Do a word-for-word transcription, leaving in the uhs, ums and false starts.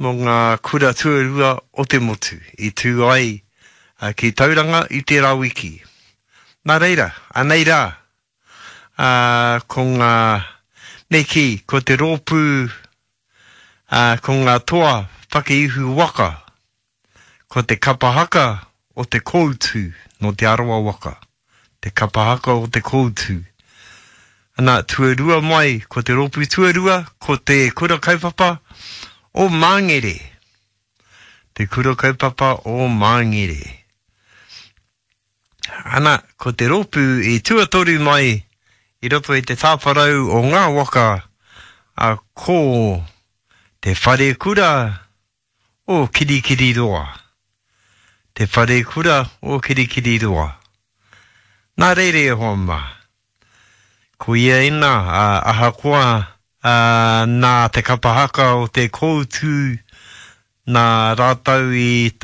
mō ngā kura tuarua o te motu i tū ai ki Tauranga i tērā wiki. Nā reira, anei rā, ā, ko ngā, me kī, ko te rōpū, ā, ko ngā toa whakaihu waka, ko te kapa haka o te Koutu nō Te Arawa waka, te kapa haka o te Koutu. Ana, tuarua mai, ko te rōpū tuarua, ko te kura kaupapa o Māngere. Te kura kaupapa o Māngere. Ana, ko te rōpū i tuatoru mai i roto i te tāwharau o ngā waka, a, ko te wharekura o Kirikiriroa. Te wharekura o Kirikiriroa. Nā reira e hoa mā, ko ia ina, a, ahakoa a, nā te kapa haka o te Koutu, nā rātou i,